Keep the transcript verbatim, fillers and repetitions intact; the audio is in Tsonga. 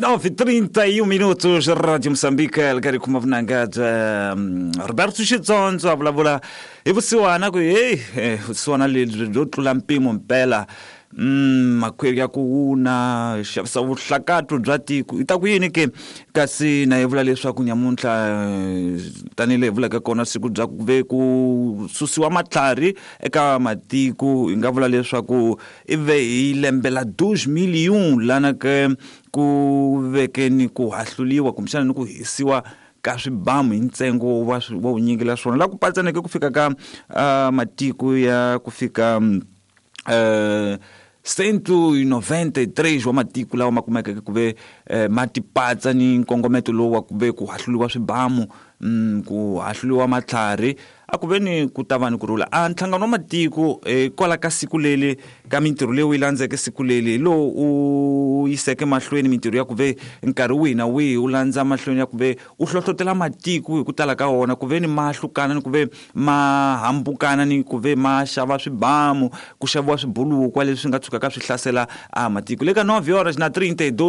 Nove trinta e um minutos, Rádio Moçambique, Elgari Kumavnangad, Roberto Xitsonzo a vulavula hi vusiwana ku hey, eh, vusiwana lebyi byo tlula mpimo mpela. Mm, makhwiri ya ku wuna xavisa vuhlakatlo bya tiko i ta ku yini ke kasi na yi vula leswaku nyamuntlha tanihileswi hi vulaka kona siku bya ku ve ku susiwa matlhari eka matiko hi nga vula leswaku i ve hi lembe la deux mille un lana ke ku veke ni ku hahluliwa kumbexana ni ku hisiwa ka swibamu hi ntsengo wa wa vunyingi la swona la ku patsaneke ku fika ka uh, matiko ya ku fika Uh, cento e noventa e três wa matiko lawa ma kumekeke ku ve eh, ma tipatsa ni nkongometo lowu wa ku ve ku hahluliwa swibamu mm, ku hahluliwa matlhari a ku ve ni ku ta va ni ku rhula. A nhlangano wa matiko eh, kwala ka siku leli ka mintirho leyi wu yi landzeke siku leli hi lowu u yiseke mahlweni mintirho ya ku ve nkarhi wihi na wihi wu landza mahlweni ya ku ve u hlohlotela matiko hi ku tala ka wona ku ve ni ma hlukana ni ku ve ma hambukana ni ku ve ma xava swibamu ku xaviwa swibulukwa leswi nga tshukaka swi hlasela a matiko le ka nove horas na trinta e dois.